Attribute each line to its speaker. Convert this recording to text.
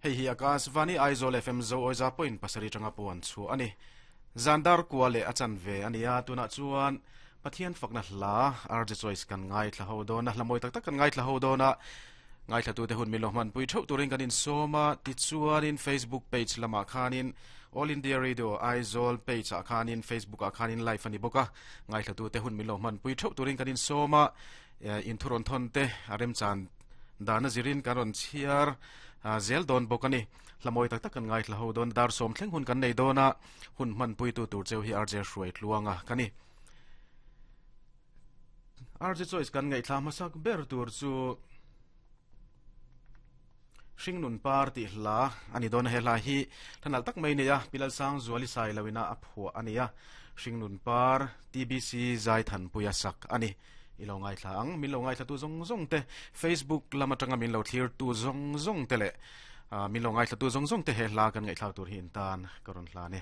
Speaker 1: Hei hi Akashvani Aizawl FM Zo Awiza point pasarih atanga puan chhuah a ni. Zan dar kua leh a chan ve a ni a, tunah chuan Pathian fakna hla RJ Choice kan ngaithla ho dawn a, hla mawi tak tak kan ngaithla ho dawn a, ngaithlatute hun min lo hmanpui theuh turin kan insawm a, tichuanin Facebook page lamah khanin All India Radio Aizawl page ah khanin Facebook ah khanin live a ni bawk a, ngaithlatute hun min lo hmanpui theuh turin kan insawm a, inthu rawn thawn te a remchan dana zirin kan rawn chhiar zel dawn bawk a ni. Hla mawi tak tak kan ngaithla ho dawn, dar sawm thleng hun kan nei dawn a, hun hmanpuitu tur cheu hi RJ Hruai Tluanga ka ni. RJ Choice kan ngaihthla hmasak ber tur chu Hringnun Par tih hla a ni dawn a, he hla hi hla nalh tak mai nei a, Pi Lalsangzuali Sailoina a phuah a ni a, Hringnun Par TBC Zaithanpuia sak a ni. I lo ngaithla ang, min lo ngaithlatu zawng zawng te, Facebook lam atanga min lo thlirtu zawng zawng te leh min lo ngaithlatu zawng zawng te he hla kan ngaihthlak tur hi in tan ka rawn hlan e.